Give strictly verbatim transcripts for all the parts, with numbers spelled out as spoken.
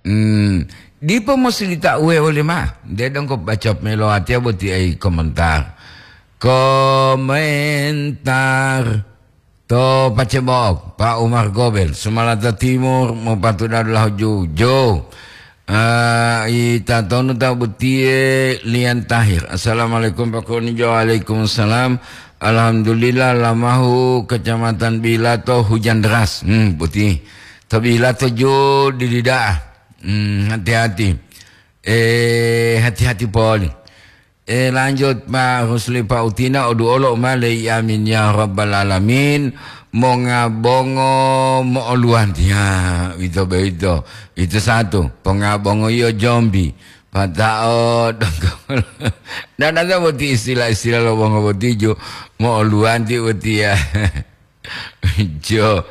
Hmm, dipo musi dita'uwe oli ma'o. Nte donggo baca melo watiya boti ai komentar. Komentar to pacebok, Pak Umar Gobel, Sumalata Timur, mopatuda dulahu jujo. Ah, ita tonu ta botiye Lian Tahir. "Assalamualaikum Pak Konijo." "Waalaikumsalam." "Alhamdulillah, lamahu Kecamatan Bilato hujan deras." Hmm, boti. To Bilato jo didida'a. Hmm, hati-hati. Eh, hati-hati poli. Eh, lanjut, Pak Rusli Pautina, oduolo male, amin ya rabbal alamin. Monga bongo mo'oluwanti. Ya, ito boyito. Itu satu. Ponga bongo iyo jombi. Pata'o donggo. Dan ada boti istilah-istilah lo bongo boti ju mo'oluwanti boti ya. Jo.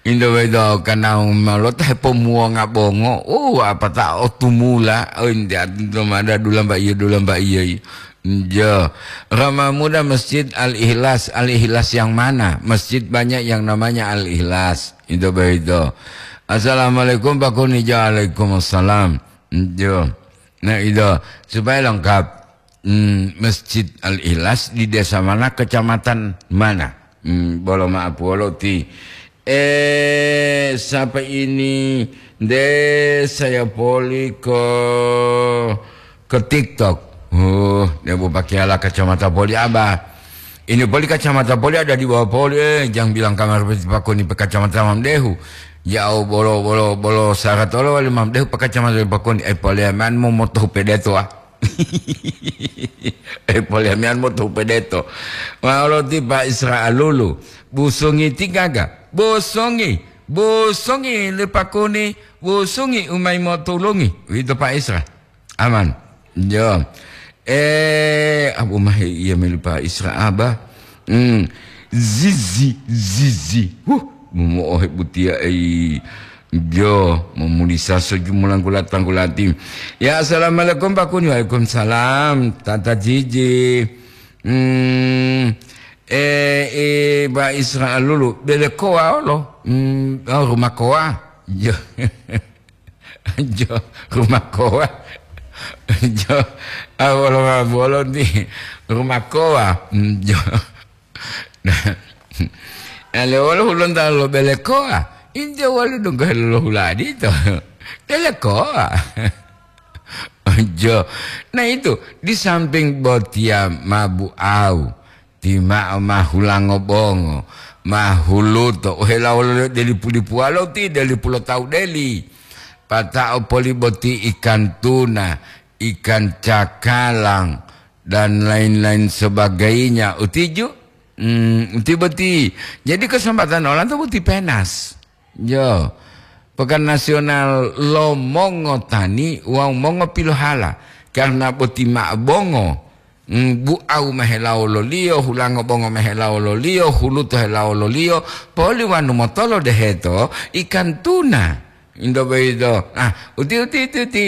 Indo wedo kanau malota hepomuwonga bongo. Oh, apata otumula. Oh, inde atinto mada dulamba iya, dulamba iya. Jo. Rama Muda Masjid Al-Ikhlas. Al-Ikhlas yang mana? Masjid banyak yang namanya Al-Ikhlas. Indo begitu. "Assalamualaikum Pak Kuni." "Waalaikumsalam." Jo. Nah, itu supaya lengkap. Hmm, Masjid Al-Ikhlas di desa mana, kecamatan mana? Hmm, bolo maaf, wolo ti. Eh, siapa ini? Deh, saya poli ke, ke TikTok. Oh, dia mau pakai ala kacamata poli, Abah. Ini poli kacamata poli ada di bawah poli. Eh, jangan bilang kamar peti pakoni pe kacamata Mam Dehu. Ya, oh, bolo, bolo, bolo, syarat olo wali Mam Dehu pe kacamata pakoni. Eh, poli aman mau moto pedeto, ah. Eh, polemian mo to pedeto. Walo ti Pak Isra Alulu. Busongi ti gaga. Busongi. Busongi le pakuni. Busongi umai mo tulungi. Wito Pak Isra. Aman. Yo. Eh, abu mahe iya melu Pak Isra Abah. Hmm. Zizi, zizi. Huh, momo'ohe butiya ei. Jo, momulisa soju mulangkula-tangkulati. Ya, assalamualaikum, Pak Kuni. Waalaikumsalam, Tata Jiji. Hmm, eh, eh, Pak Isra Alulu, bele koa olo. Hmm, oh, rumah koa. Jo. Jo, rumah koa. Jo, ah, wolo, wolo ni rumah koa. Hmm, jo. Nah, ale wolo hulonta lo bele koa. Inte wolo donggo helo lo huladi to. Bele koa. Jo. Nah, itu di samping botiya mabu au. Ti ma'o ma hulango bongo, ma huluto, ohela wolo deli pulipuwalo ti deli pulo tawu deli. Pata'o poli boti ikan tuna, ikan cakalang, dan lain-lain sebagainya. Utiju? Hmm, uti boti. Jadi kesempatan olanto boti penas. Jo, pekan nasional lo mongotani wawu mongopilohala, karna boti ma'o bongo, mm, bu'au ma helawololiyo, hulango bongo ma helawololiyo, huluto helawololiyo, poli wanu motolo deheto ikan tuna. Indo boyito, ah, uti, uti, uti, uti.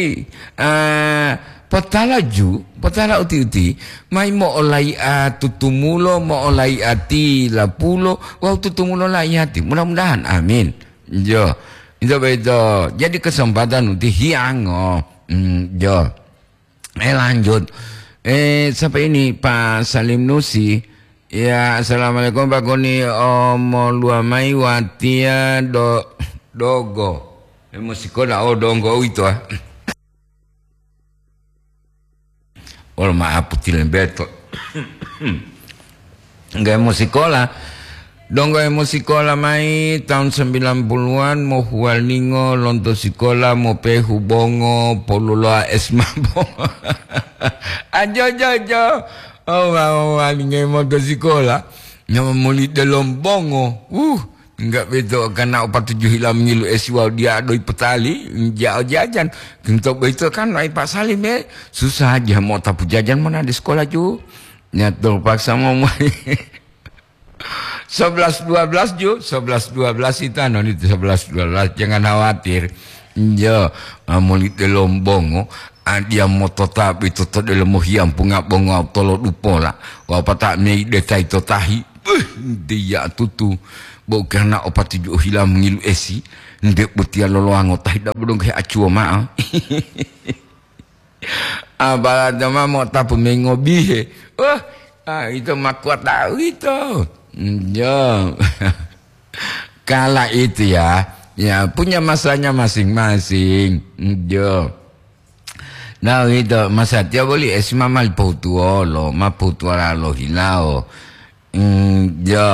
Ah, potala ju, potala uti-uti, mai mo'olai'a tutumulo, mo'olai'a tilapulo, wawu tutumulo laiyati. Mudah-mudahan, amin. Jo, itu begitu. Jadi kesempatan uti hiango. Hmm, jo. Eh, lanjut. Eh, siapa ini? Pak Salim Nusi. Ya, assalamualaikum Pak Koni. Omo luamai watia do, dogo. Eh, musikola, oh, donggo itu, ah. Wolo ma'apu tilembeto. Nggak mau sekolah. Donggo emo sikola mayi taun sembilan puluhan, mohuwalingo lonto sikola, mopehu bongo, poluloa es mabo. Ajo, jo, jo. Oh, walingo monto sikola. Nyama muli delom bongo. Uh, enggak beto kana opatuju hila mengilu esi wawu dia adoi petali, jao jajan. Kento boyito kan wai Pak Salim, eh. Susah aja mau tapu jajan mona di sekolah ju. Nya terpaksa mau mai. Sebelas dua belas ju, sebelas dua belas itu anu itu sebelas dua belas, jangan khawatir. Iya, amuli telombongo, adia motota bito to delomo hiyampunga bongo tolo dupola. Wapata mei detai to tahi. Beuh, dia tutu. Bau karena opat tujuh hila mengilu esi. Nde botiya lolowango tahi dabo donggo heacuwo ma'o. Apala dama mo'otapu mengobihe. Wah, ah, ito ma kuwat da'a uwito. Njo. Kala itu ya, ya punya masanya masing-masing. Njo. Nah, uwito, masatiya boli esi ma mali pohutuwolo, ma pohutuwala lo hilawo. Mm, jo.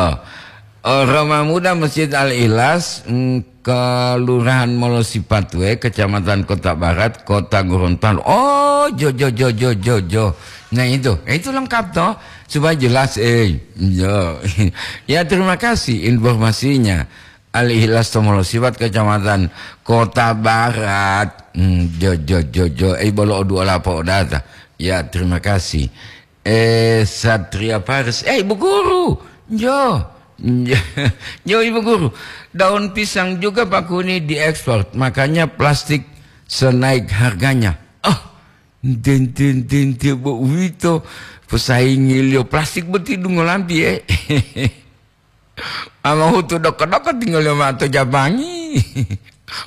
Oh, Roma Muda Masjid Al-Ikhlas, mm, Kelurahan Molosipatuwe, Kecamatan Kota Barat, Kota Gorontalo. Oh, jo, jo, jo, jo, jo, jo. Nah, itu. Eh, itu lengkap, toh. Supaya jelas, eh. Jo. Ya, terima kasih informasinya. Al-Ikhlas to Molosipat, Kecamatan Kota Barat. Hmm, jo, jo, jo, jo. Eh, bolo oduola po'odata. Ya, terima kasih. Eh, Satria Paris. Eh, Ibu Guru. Jo. Jo, Ibu Guru. Daun pisang juga Pak Kuni diekspor. Makanya plastik senaik harganya. Oh, den, den, den, den, bo uwito. Pesaingiliyo plastik boti dungo lampi, eh. Ama hutu doko-doko tinggal ma'o to jabangi.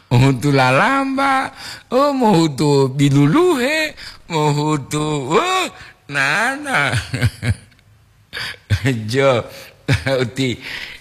Hutu lalamba, oh, mohutu biluluhe, mohutu, oh, nana. Jo, uti,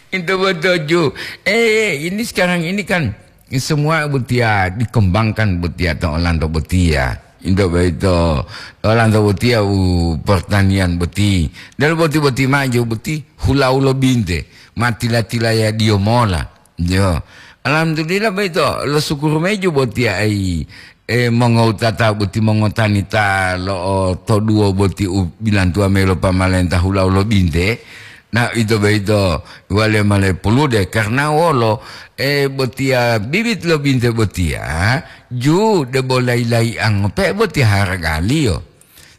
itu betul, Ju. Eh, ini sekarang ini kan semua botiya dikembangkan botiya to olanto botiya. Into boyito, olanto botiya u pertanian boti. Delo boti-boti maju boti, hula-ulo binte, ma tila-tilaya diyo mola. Yo. Alhamdulillah boyito, lo sukuru meju botiya ai, eh, mongowutata boti mongotani ta lo'o toduwo boti u bilantuwa mayi lo pamalenta hula-ulo binte. Nah, ito boyito wale male pulude, karna wolo, eh, botiya bibit lo binte botiya, ju debo layi-layi'ango pe botiya haragaliyo.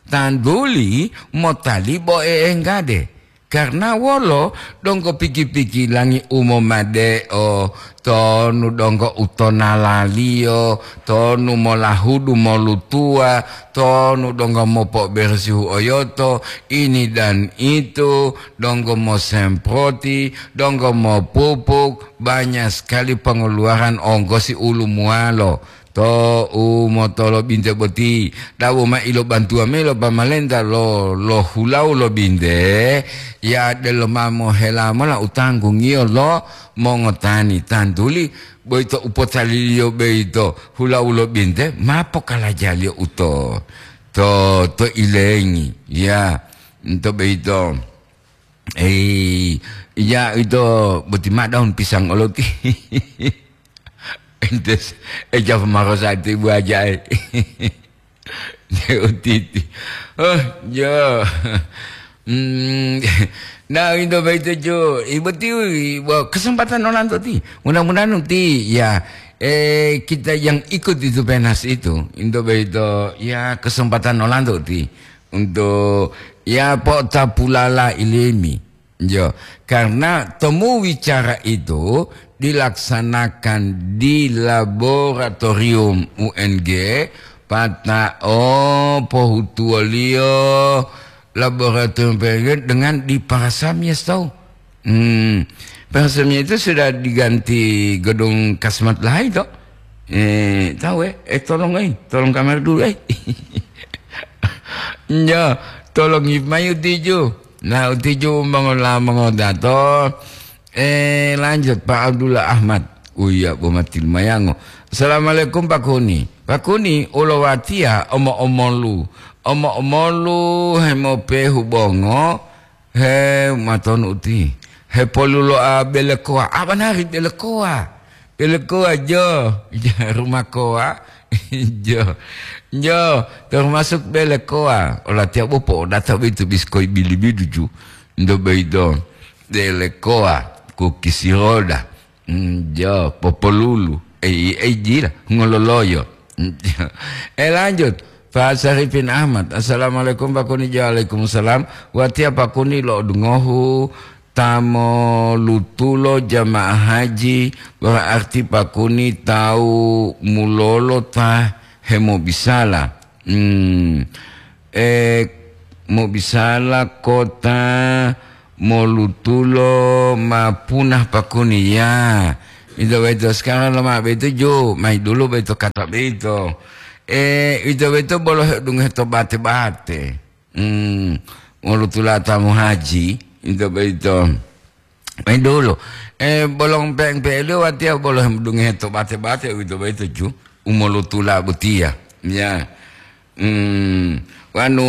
Tanduli motalibo e'enggade. Karna wolo donggo piki-pikilangi u momade'o, tonu donggo utonalaliyo, tonu molahudu molutuwa, tonu donggo mopo'oberesihu oyoto, ini dan itu, donggo mosemproti, donggo mopupuk, banyak sekali pengeluaran onggosi ulumuwalo. To u motolo binte boti, dabo ma ilobantuwa mayi lo pamalenta lo, lo hulawu lo binte, ya delo ma mohela mola u tanggungiyo lo mongotani tantuli, boyito u potaliliyo boyito hulawu lo binte, ma pokalajaliyo uto, to, to ilengi, ya, nto boyito. Ei, ya ito boti ma daun pisang oloti. Entes, eh, jawab marosa itu ibu aja, eh. Dia utiti. Oh, yo. Hmm, nah, itu baik itu, Jo. Ibu ti, wah, kesempatan olanto ti. Mudah-mudahan ti, ya, eh, kita yang ikut itu penas itu. Itu baik itu, ya, kesempatan olanto ti. Untuk, ya, po'otapulala ilimi. Yo, karena temu wicara itu dilaksanakan di laboratorium U N G, pata'o pohutuwoliyo laboratorium U N G dengan di Parasamya, tahu? Hmm, Parasamya itu sudah diganti gedung Kasmat Lahai, toh? Eh, tahu, eh? Eh, tolong, eh, tolong kamar dulu, eh. Yo, tolong mayu tiju. Nah, utiju mongola mongodato. Eh, lanjut, Pak Abdullah Ahmad. Oh iya, bo mati lumayango. Assalamualaikum, Pak Kuni. Pak Kuni, ulo watiya omo-omolu. Omo-omolu hemopehu bongo. He, matonu uti. Hepoluloa belekoa. Apa nari belekoa? Belekoa, jo. Rumakoa. Jo. Jo, termasuk belekoa. Olatiya bo po'odata boyito biskoi bili-bili ju. Ndo boyito. Belekoa, kukisi roda. Mm, jo, popolulu. Eh, eh, jila, ngololoyo. Eh, lanjut. Pak Sarifin Ahmad. Assalamualaikum, Pak Kuni. Waalaikumsalam. Watiya Pak Kuni lo'odungohu ta molutulo jamaah haji, berarti Pak Kuni tawu mulolo ta hemobisala. Hmm. Eh, mobisala kota molutulo ma punah Pak Kuni, ya. Ito boyito sekarang loma boyito ju, mai dulu boyito kata boyito. Eh, ito boyito bolo hedungohe to bate-bate. Hmm, wolo tulata mo haji, ito boyito. Mai dulu. Eh, bolong peng pelu watiya bolo hedungohe to bate-bate, ito boyito ju. Umolutula botiya. Ya. Hmm, wanu,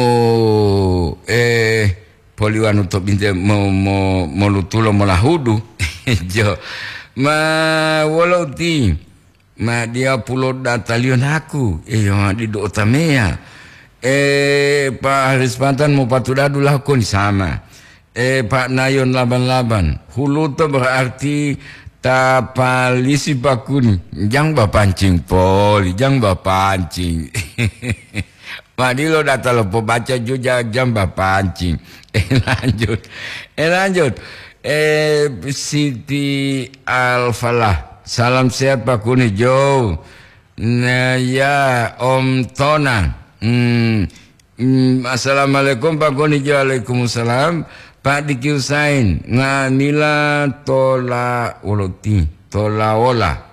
eh, poli wanu to binte mo, mo, molutulo molahudu. Jo. Ma wolo uti, ma dia pulo dataliyo naku, eh, yo didu otameya. Eh, pa Haris Pantan mo patudadu lahukoni sama. Eh, Pak Nayon laban-laban. Huluto berarti tapalisi pakuni. Jang bapancing poli, jang bapancing. Madilo data lo pobaca juja jam bapancing. Eh, lanjut. Eh, lanjut. Eh, Siti Al-Falah. Salam sehat Pak Kuni Jo. Nah, ya, Om Tona. Hmm. Hmm, assalamualaikum Pak Kuni Jo. Waalaikumsalam. Pak Diki Husain. Ngamila tola woloti. Tola wola.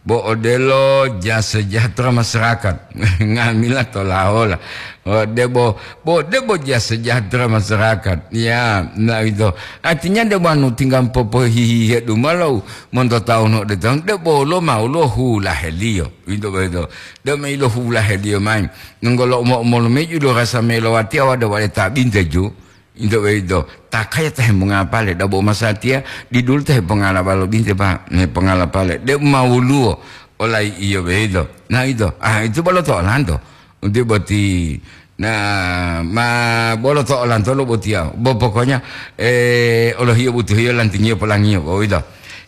Bo odelo ja sejahtera masyarakat. Nga'amila tolahola. Oh, debo, bo debo ja sejahtera masyarakat. Ya, nah itu. Artinya debo anu tinggal popohihihe dumalo monto tahun de tahun debo lo mau lo hula helio. Itu begitu. Debo ilo hula helio main. Nunggolo mo mo meju do rasa melowati awada wale tabinte ju. Into boyito, takaya ta hemonga pale, dabo masatiya, didulu ta hepongala balo binte, Pak, hepongala pale. De umawuluwo, olai iyo boyito. Nah, ito. Ah, itu bolo to olanto. Unti boti. Nah, ma bolo to olanto lo botiya. Bo pokoknya, eh, olohiyo butuhiyo lantingiyo polangiyo, boyito.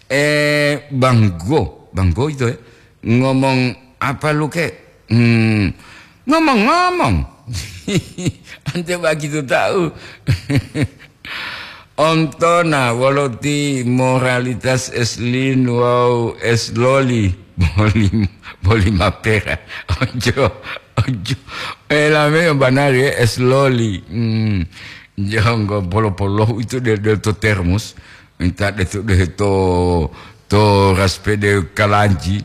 Eh, banggo, banggo itu ya. Ngomong apa lu, Kek? Hmm, ngomong-ngomong. Ante begitu tahu. Ontona woloti moralitas eslin wau esloli boli, boli mapera. Ojo, ojo. Elame banari esloli. Hmm. Jonggo polo-polo itu de, de to termos. Minta de to, de to, to raspede kalanji.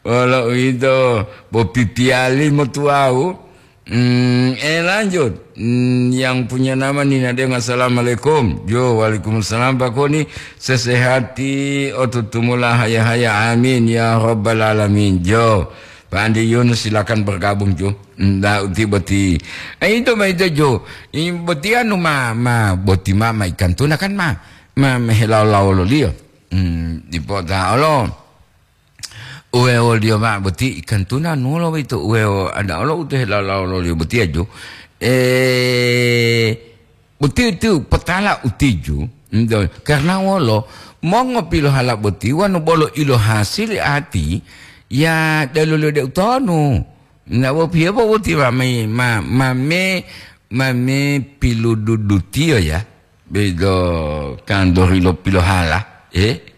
Wolo uwito, bo pipiyali motuwawu. Hmm, eh, lanjut. Hmm, yang punya nama Nina Deng, assalamualaikum. Jo, waalaikumsalam, Pak Koni. Sesehati, otutumula haya-haya. Amin, ya rabbal alamin. Jo, Pak Andi Yunus, silakan bergabung, Jo. Nda uti boti. Eh, itu ma itu, Jo. Ini boti anu ma, ma, boti ma, ma ikan tuna kan, ma. Ma, ma helawo-lawo loliyo. Hmm, dipota olo. Uwewoliyo mao boti ikan tuna nulo boyito, uwewo ada olo u to helalawo-lawoliyo botiya jo. Eh, boti-, tiu potala utiju, ento, karna wolo, mongopilohala boti wonu bolo ilohasili ati, ya deluliyo de utonu. Na wopiye bo boti mame, ma-, mame, mame pilududutiyo ya. Bedo kandori lo pilohala, eh?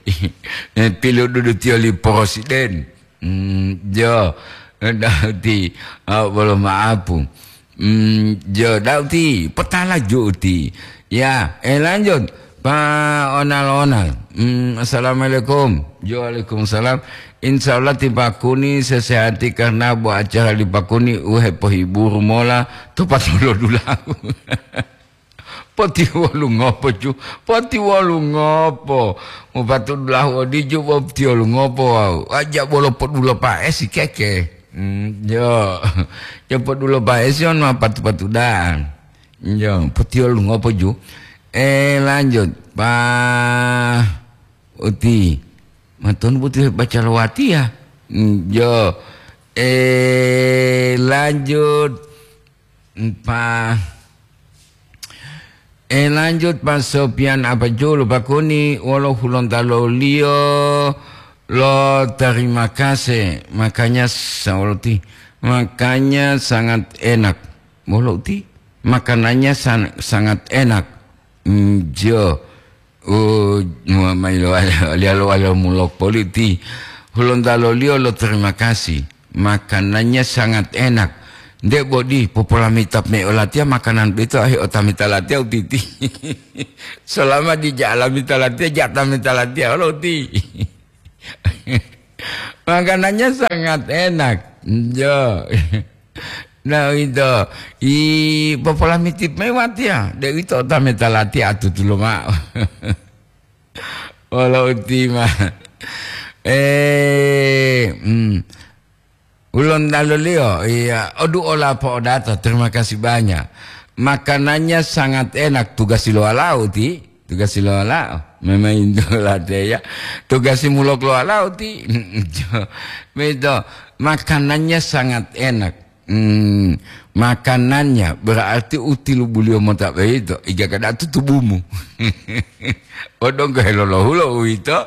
Eh, pilodudu tiyo li porosiden. Hmm, jo, dauti, ah, bolo maapu. Hmm, jo, dauti, potala juti. Ya, eh, lanjut. Pa onal-onal. Hmm, assalamualaikum. Jo, waalaikumsalam. Insya Allah ti Pak Kuni sesehati karena bo acara li Pak Kuni uhe pohiburu mola to patolo dulahu. Potiwolu ngopo, cu? Potiwolu ngopo? Mopatu dulahu odiju, potiwolu ngopo wau? Aja bolo podulo paesi keke. Hmm, jo. Jo podulo paesi on ma patu-patu daan. Jo, potiwolu ngopo, ju? Eh, lanjut. Pa uti. Matonu buti baca lowatiya. Hmm, jo. Eh, lanjut. Pa Eh, lanjut, Pak Sopian apa julu, Pak Kuni, wolo Hulontalo-Liyo lo terima kasih, makanya sa-, wolo ti, makanya sangat enak. Wolo ti, makanannya san-, sangat enak. Mm, jo. Oh, ma-, mailo wali-, wali-, wali-, mulok poli ti. Hulontalo-Liyo lo terima kasih. Makanannya sangat enak. Nde bodi, popolamita me olatiya makanan boyito, ahi otamita latiya utiti. Selama dija alamita latiya, ja tamita latiya olo uti. Makanannya sangat enak. Jo. Nah, itu. I popolamiti me watiya, de uwito otamita latiya atutu lomao. Wolo uti ma. Eh, hmm. Ulontaliyo, iya, odu ola po'odato, terima kasih banyak. Makanannya sangat enak, tugasi lo walao ti, tugasi lo walao. Memang itu lateya, tugasi mulok lo walao ti. Begitu, makanannya sangat enak. Hmm, makanannya berarti utilubuliyo mota begitu, iga kada tutubumu. Odonggo helolohulo uwito.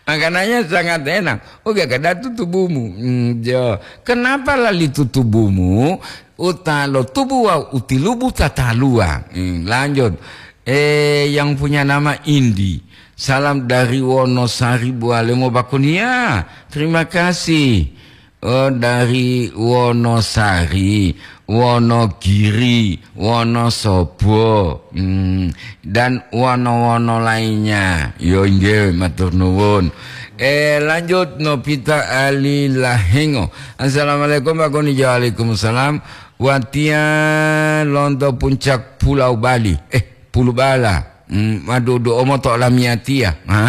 Makanannya sangat enak. Oke, kada tutubumu. Hmm, jo. Kenapa lali tutubumu? Utalo tubu wawu utilubu tataluwa. Hmm, lanjut. Eh, yang punya nama Indi. Salam dari Wonosari, Bualemo Bakunia. Terima kasih. Oh, dari Wonosari, Wonogiri, Wonosobo, hmm, dan wono-wono lainnya. Yo, inggih, matur nuwun. Eh, lanjut, Nopita Ali Lahengo. Assalamualaikum, Pak Koni. Waalaikumsalam. Watiya lonto puncak Pulau Bali. Eh, Pulubala. Hmm, madu do'o moto lamiyatiya. Ha?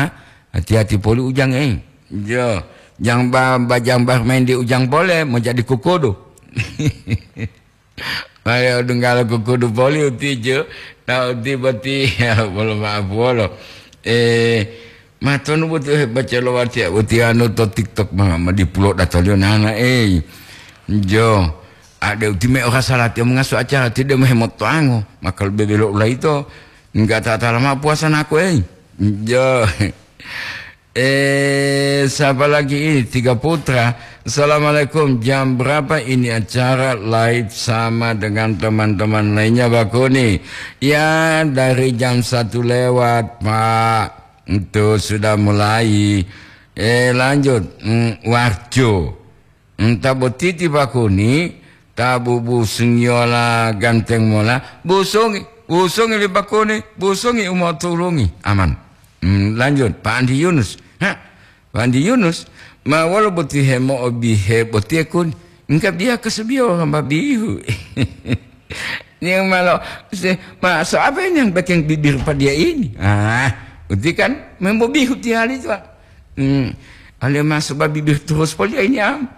Hati-hati poli ujang, eh. Jo, jang ba, ba jang ba main di ujang pole, mau jadi kukudu. Ayo, dunggalo kukudu poli uti, jo. Nah, uti boti, ya, bolo maaf, bolo. Eh, matonu boti, eh, baca lo wati, uti anu to TikTok, ma, ma di pulo datolio nana, eh. Jo, ade uti me ora salah, tiyo mengaso acara, tidak mau hemotoango. Maka lebih belok ulai to. Enggak tak lama puasa naku, eh. Jo. Eh, siapa lagi ini? Tiga Putra. Assalamualaikum. Jam berapa ini acara live sama dengan teman-teman lainnya, Bakuni? Ya, dari jam satu lewat, Pak. Itu sudah mulai. Eh, lanjut. Hmm, Warjo. Enta boti ti Bakuni, ta bubusungiyola ganteng mola, busungi, busungi li Bakuni, busungi u motulungi. Aman. Hmm, lanjut, Pak Andi Yunus. Ha, Pak Andi Yunus, ma wolo boti hemo'obihe boti ekuni? Engka biya kasabiyo hamba bihu. Yang malo, se, ma, so apa ini yang bikin bibir pada ini? Ah, uti kan, membo bihu tiali tu, Pak. Hmm, ale masuk babi bir terus poli ini am.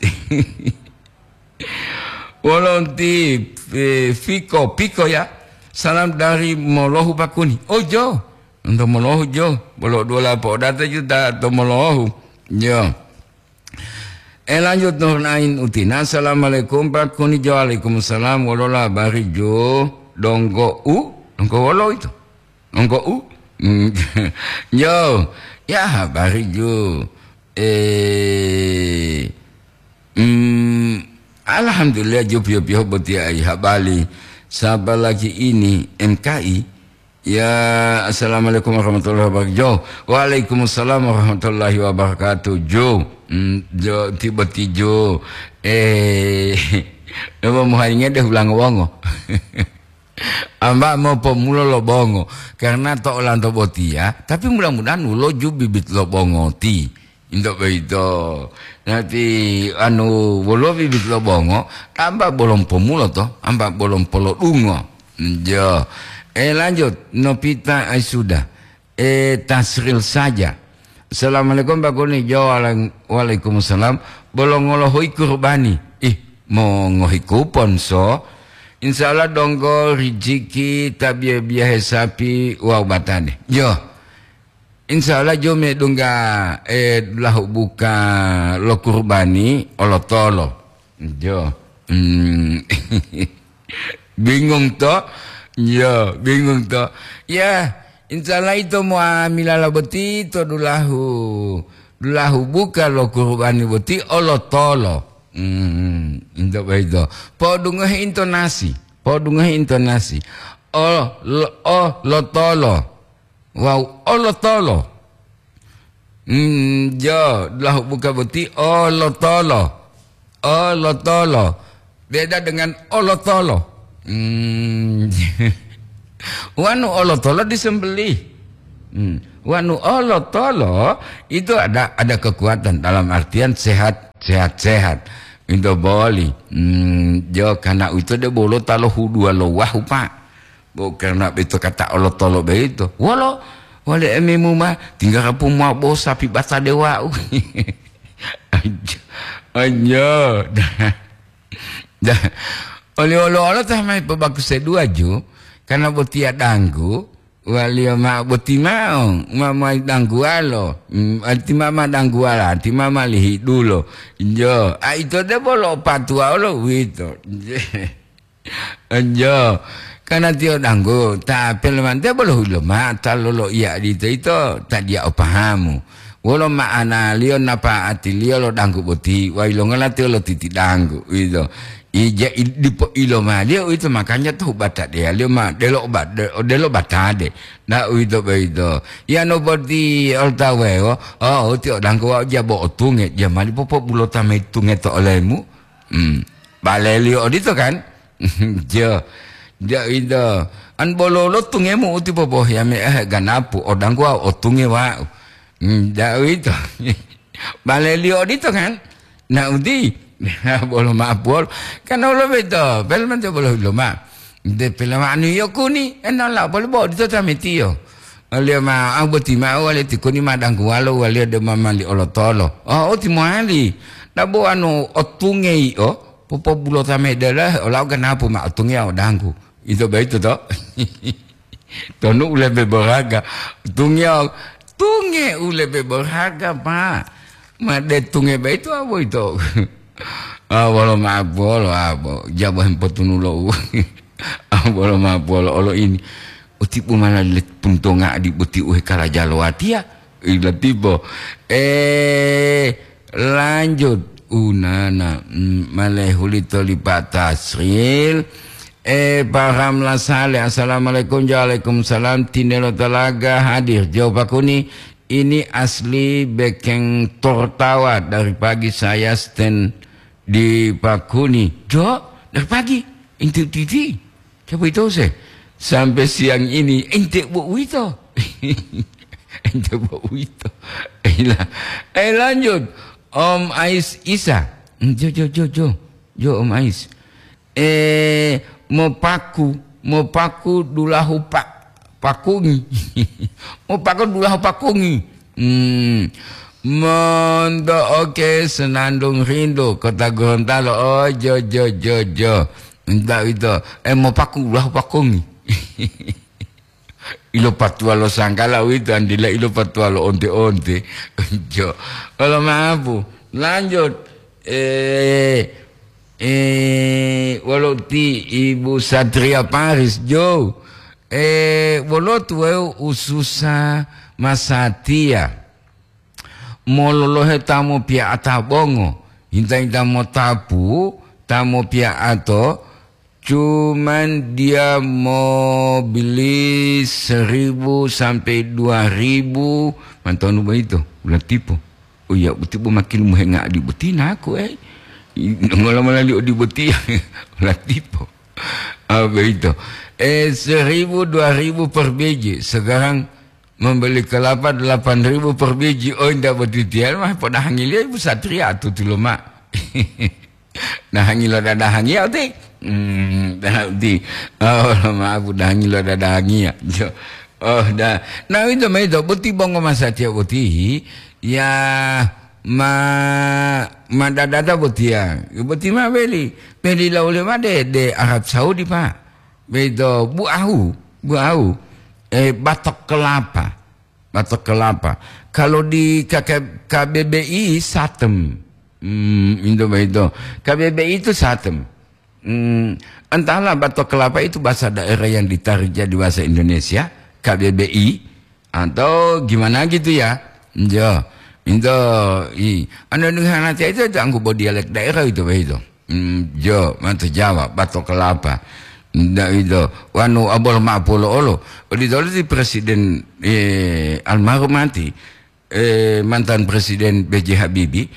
Wolo nti, eh, Fiko, Piko ya. Salam dari Molohu Bakuni. Oh, Jo. Untuk Molohu, Jo. Bolo dua lapo data juta atau Molohu. Jo. Eh, lanjut Nur Ain Utina. Assalamualaikum, Pak Kuni. Jo, waalaikumsalam. Wolola bari, Jo. Donggo u. Donggo wolo itu. Engko u? Hmm, yo, ya habari ju. Eh, hmm, alhamdulillah ju piyo-piyo boti ai habari. Saba lagi ini M K I. Ya, assalamualaikum warahmatullahi wabarakatuh. Jo, waalaikumsalam warahmatullahi wabarakatuh. Jo, hmm, jo, tiba-tiba jo. Eh, apa muharinge deh ulang wongo. Amba mopomulo lo bongo, karena to olanto botiya, tapi mudah-mudahan wolo ju bibit lo bongo ti. Into boyito. Nanti anu wolo bibit lo bongo, tamba bolom pomulo to, amba bolom polodungo. Jo. Eh, lanjut, Nopita Aisuda. Eh, Tasril saja. Assalamualaikum, Pak Kuni. Jo, walang-, waalaikumsalam. Bolo ngolohuyi kurbani. Ih, mongohi kupon, so. Insya Allah donggo rijiki ta biya-biyahe sapi wawu batade. Jo. Insya Allah jo medungga, eh, lahu buka lo kurbani olotolo. Jo. Hmm. Bingung to? Ya, bingung to. Ya, insya Allah ito muamilala boti to dulahu, dulahu buka lo kurubani boti olotolo. Hmm, into boyito. Podungohe intonasi, podungohe intonasi. O, lo, o, lotolo. Wawu olotolo. Hmm, jo, dulahu buka boti olotolo. Olotolo. Beda dengan olotolo. Hmm. Wanu olotolo disembelih. Hmm. Wanu olotolo itu ada ada kekuatan dalam artian sehat, sehat, sehat. Itu boli. Hmm, jo karena itu de bolo talo hudua lo wahu, Pak. Bo karena itu kata olotolo begitu. Wolo, wale emimu ma tinggal kapu mau bo sapi bata dewa'u. Anjo. Anjo. Da, oli olo-olo ta mai pobaku sedua ju, karena botiya danggu, waliyo ma'o boti ma'o, ma mai dangguwalo, mm, arti ma ma dangguwala, arti ma ma lihidulo. Jo, a ito de bolo patuwa olo uwito. Jo, karena tiyo danggu, ta pelemante bolo hulo ma, ta lolo iya dito ito, ta dia o pahamu. Wolo ma'analiyo napa'atiliyo lo danggu boti, wa yilongola tiyo lotiti danggu, uwito. Ija i-, dipo ilomaliyo uwito, makanya to hubatadeyaliyo ma delo oba-, de-, odelo batade. Na uwito boyito. Yano boti oltawewo, oh, uti o danggu wa'u jabo otunge, jamali popobulota mayi tunge to olemu. Hmm. Baleliyo odito kan? Jo. Jo ito. An bololo tungemu uti popohiyame, eh, ganapu, o danggu wa'u otunge wa'u. Hmm, ja uwito. Baleliyo odito kan? Na uti, bolo ma'o puwolo. Kan olo beto, pelemante bolo hulo ma'o. De pelema'anu yio kuni, enola bolo bo odito tametiyo. Oliyo ma, au boti ma'o wale tikuni ma dangguwalo waliyo de ma mali olotolo. Oh, uti mowali. Dabo anu otunge yio, popobulota mayi delo, olau ganapu ma otunge o danggu. Ito boyito to? Tonu u lebe berharga. Tunge, tunge u lebe berharga, Pak. Ma de tunge boyito a boyito. Ah, wolo ma'o puwolo, ah, bo, jabo hempotunulo u. Ah, wolo ma'o puwolo olo ini. Uti pumala le puntonga adi boti u hekalaja lo watiya. Ila tipo. Eh, lanjut. Unana, mm, malehuli toli Pak Tasril. Eh, Pak Ramla Saleh, assalamualaikum. Waalaikumsalam. Tinelo Talaga hadir. Jo Pakuni, ini asli bekeng tortawa dari pagi saya stand di Pakuni. Jo, dari pagi. Inti titi. Coba itu se. Sampai siang ini, ente bo uwito. Ente bo uwito. Eh, la-, eh, lanjut. Om Ais Isa. Jo, jo, jo, jo. Jo, Om Ais. Eh, mopaku, mopaku dulahu pa-, pakungi. Mopaku dulahu pakungi. Hmm. Monto oke Senandung Rindu, Kota Gorontalo. Oh, jo, jo, jo, jo. Entah itu. Eh, mopaku dulahu pakungi. Ilopatuwa lo sangkala uwito, andila ilopatuwa lo onte-onte. Jo. Olo ma'o pu. Lanjut. Eh, eh, wolo ti Ibu Satria Paris, Jo. Eh, wolo tuweu ususa masatiya. Mololohe ta mopiya'ata bongo, hinta-hinta motapu ta mopiya'ato, cuman dia mau beli seribu sampai dua ribu, mantonu boyito, ulatipo. Oh iya, utipo makin muhenga adi boti naku, eh. Ngola mala li odi boti, ulatipo. Ah, boyito. Eh, seribu, dua ribu per biji. Sekarang membeli kelapa delapan ribu per biji. Oh, indak botitiya mah podahangiliyo Ibu Satria atutu loma. Dahangi lo dadahangiya uti. Hmm, dah uti. Oh, maaf, dahangi lo dadahangiya. Jo. Oh, dah. Nah, itu ma itu, boti bongo masatiya boti, ya, ma, ma dadada botiya. Boti ma beli. Beli lo ulema de, de Arab Saudi, Pak. Begitu, bu ahu, bu ahu. Eh, batok kelapa. Batok kelapa. Kalau di K K, K B B I, satem. Hmm, itu begitu. K B B I itu satem. Hmm, entahlah batok kelapa itu bahasa daerah yang ditarik jadi bahasa Indonesia, K B B I, atau gimana gitu ya. Jo, itu, i, anu, anu, hanatia itu, itu anggupo dialek daerah itu, begitu. Hmm, jo, matu Jawa, batok kelapa. Ndak itu, wanu abol ma'o polo olo. Odito olo ti Presiden, eh, almarhum mati, eh, mantan Presiden B J Habibie,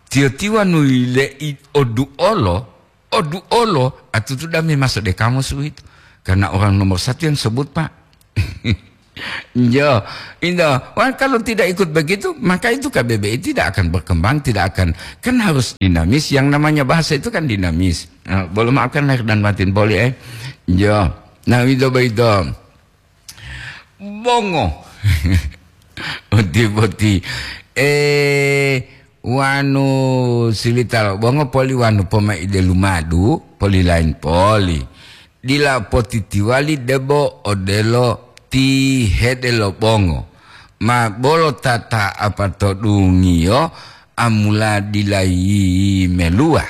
tiyo-tiyo wanu yile'i odu olo, Oduolo, atutu dame maso de kamus uwito. Karena orang nomor satu yang sebut, Pak. Yo, indah. Wah, kalau tidak ikut begitu, maka itu K B B I tidak akan berkembang, tidak akan, kan harus dinamis. Yang namanya bahasa itu kan dinamis. Nah, boleh maafkan lahir dan batin, boleh, eh? Yo. Nah, itu begitu. Bongo. Oti-boti. Eh, wanu silita lo bongo poli wanu pomaide lumadu, poli lain poli. Dila potitiwali debo odelo ti hede lo bongo. Ma bolo tata apa to dungiyo amula dila yi melua.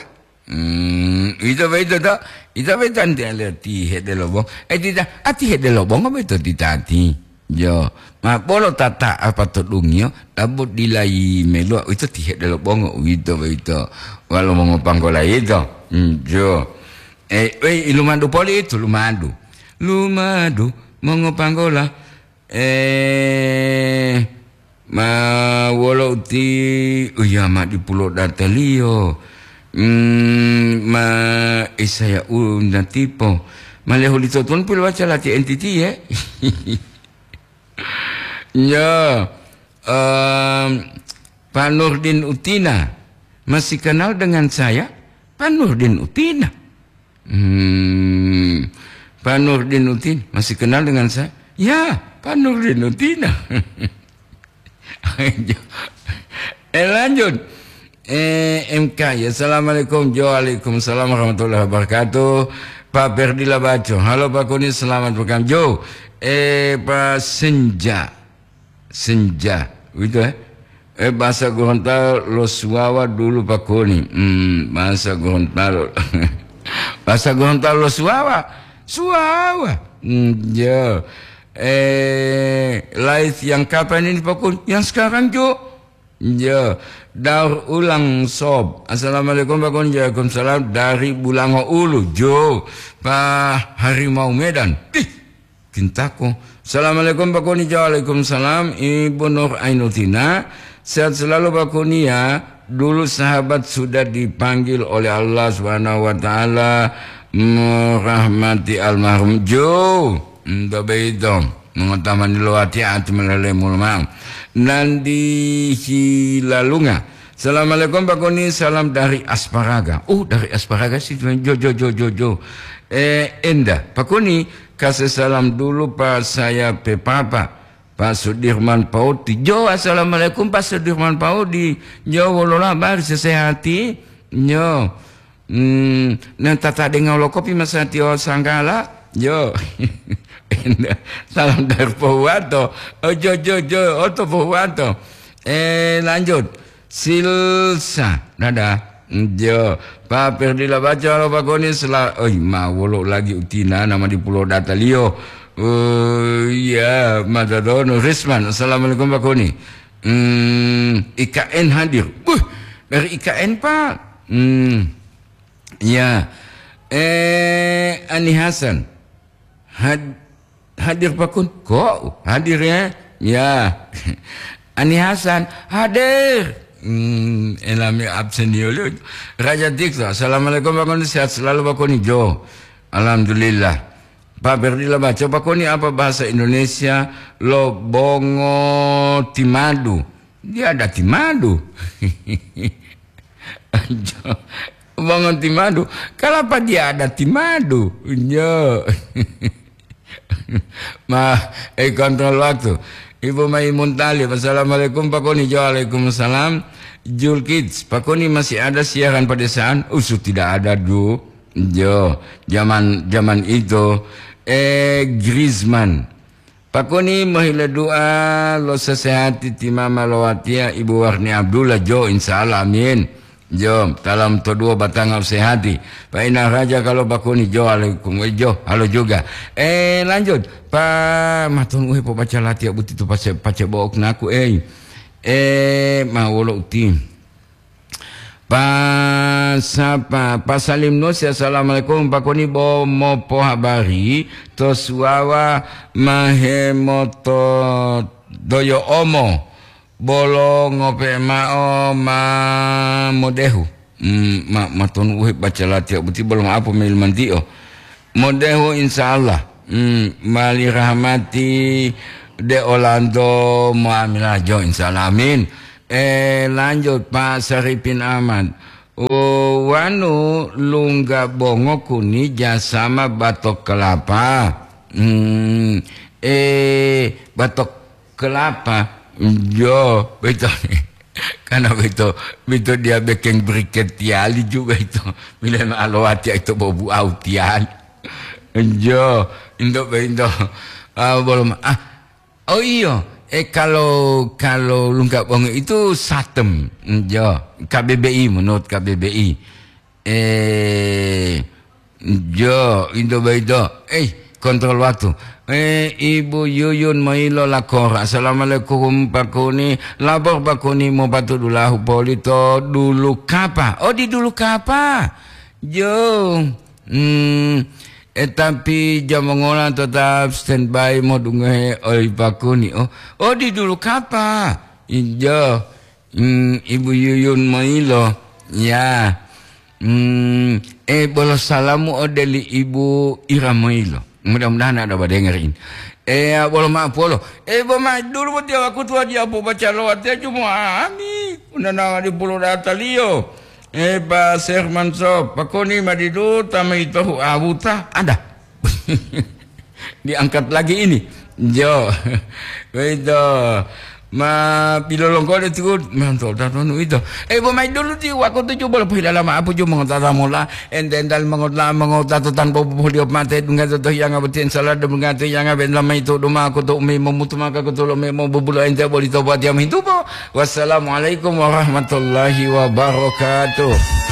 Hmm, ito boyito to? Ito boyito anti ale ti hede lo bongo. Eh, tita, ati hede lo bongo boyito tita ati. Jo, ma bolo tata apa to dungiyo, tabu dila yi melua, ito ti hede lo bongo, uwito boyito. Walo mongopanggola ito. Hmm, jo. Eh, eh, lumadu poli itu, lumadu. Lumadu, mongopanggola. Eh, ma wolo uti, uya ma dipulo dataliyo. Mm, ma isaya u natipo. Ma lehuli totun pilowaca lati entiti, ye. Ya, em, Pak Nurdin Utina. Masih kenal dengan saya? Pak Nurdin Utina. Hmm, Pak Nurdin Utina. Masih kenal dengan saya? Ya, Pak Nurdin Utina. Eh, lanjut. Eh, M K, ya, assalamualaikum. Jo, waalaikumsalam warahmatullahi wabarakatuh. Pak Perdila Baco. Halo, Pak Kuni, selamat makan. Jo, eh, Pak Senja. Senja. Begitu, eh? Eh, bahasa Gorontalo lo suwawa dulu, Pak Kuni. Hmm, bahasa Gorontalo. Bahasa Gorontalo lo suwawa. Suwawa. Hmm, ya. Eh, live yang kapan ini, Pak Kuni? Yang sekarang, Jo. Iya, daur ulang, Sob. Assalamualaikum, Pak Kun. Waalaikumsalam. Dari Bulango Ulu, Jo. Pak Harimau Medan. Ih, Kintako. Assalamualaikum, Pak Kuni. Waalaikumsalam. Ibu Nur Ainutina. Sehat selalu, Pak Kuni, ya. Dulu sahabat sudah dipanggil oleh Allah Subhanahu wa Ta'ala merahmati almarhum Jo. Nto beito, mongotamani lo watiya ati molele mulomao. Nandi Hilalunga. Assalamualaikum, Pak Kuni, salam dari Asparaga. Oh, dari Asparaga sih, jo, jo, jo, jo, jo. Eh, Enda, Pak Kuni, kasih salam dulu, Pak, saya pe Papa, Pak Sudirman Paudi. Jo, assalamualaikum, Pak Sudirman Paudi. Jo, wolola bari sesehati? Jo. Hmm, nah, tata denga lo kopi masatiyo sanggala. Jo. Salam dari Pohuwato. Oh, jo, jo, jo, oto Pohuwato. Eh, lanjut. Silsa, dada. Jo. Pak Perdila Baco, halo, Pak Koni, sela-, oi, ma wolo lagi utina nama di Pulau Dataliyo. Oh, iya, Madadono. Risman, assalamualaikum, Pak Koni. Hmm, I K N hadir. Buh, dari I K N, Pak. Hmm. Ya. Eh, Ani Hasan. Had-, hadir, Pak Kun? Kok hadir, ya? Ya. Ani Hasan hadir. Hmm, enami absen yolo. Raja Dikto, assalamualaikum, Pak Kun. Sehat selalu, Pak Kun. Jo. Alhamdulillah. Pak Berdila baca, Pak Kun, apa bahasa Indonesia lo bongo timadu? Dia ada timadu. Bongo timadu. Kenapa dia ada timadu? Jo. Ma, eh, kontrol waktu. Ibu Maimun Talib, assalamualaikum, Pak Koni. Jo, waalaikumsalam. Julkids, Pak Koni, masih ada siaran pedesaan? Usu tidak ada, Du. Jo, zaman, zaman itu. Eh, Griezmann. Pakoni mohile du'a lo sesehati ti mama lo watiya Ibu Warni Abdullah, jo, insya Allah, amin. Jo, talam to duwo batanga usehati. Pak Ina Raja kalau Pakoni, jo, alaikum, eh, jo, halo juga. Eh, lanjut. Pa, matun uhe po baca latiya buti tu pace, pace bo'ok naku, eh. Eh, ma wolo uti. Pa sapa? Pa Salim Nusi, assalamualaikum. Pakoni bo mopohabari to suwawa mahemoto doyo omo bolo ngope ma'o ma modehu. Hmm, ma, matonu uhe baca latiya boti bolo ma'apo mail mantiyo. Modehu insya Allah. Hmm, mali rahmati de Orlando muamilah jo insya Allah. Amin. Eh, lanjut Pak Saripin Ahmad. Oh, wanu lungga bongo kuni jasama batok kelapa. Hmm, eh, batok kelapa. Jo, betul. Karena betul, betul dia bikin briket tiali juga itu. Bila alowati itu bobu au tiali. Jo, indo bento. Ah, belum. Ah, oh iyo. Eh, kalau, kalau lungga bongo itu satem. Jo, K B B I, menurut K B B I. Eh, jo, indo baido. Eh, kontrol waktu. Eh, Ibu Yuyun mailo lakor. Assalamualaikum Pak Kuni. Lapor Pak Kuni mau patu dulahu polito dulu kapa. Oh, di dulu kapa. Jo. Hmm, eh, tapi jam ngola tetap standby mau dungohe oi Pak Kuni. Oh, oh, di dulu kapa. Ijo. Hmm, Ibu Yuyun mailo. Ya. Hmm, eh, bolo salamu ode li Ibu Ira mailo. Mudah-mudahan ada badenger ini. Eh, bolo maaf polo. Eh, bo mai dulu bo tiya wakutu aji apo baca lo watiya cuma ami. Unana di pulo dataliyo. Eh, Pak Serman Sop, pakoni madidu tama itohu awuta. Ada. Diangkat lagi ini. Jo. Begitu. Ma pilolonggo de tiku, mantul tatonu ito. Eh, bo mai dulu ti wakutu ju bolo pohilala ma apu ju mongotata mola, ente ental mongotla mongotata tanpa pohilio mate dunga toto yanga beti ensala de bunga to yanga ben lama itu duma aku to umi momutu maka aku to lo memo bubulo ente boli to buat yam hintu po. Wassalamualaikum warahmatullahi wabarakatuh.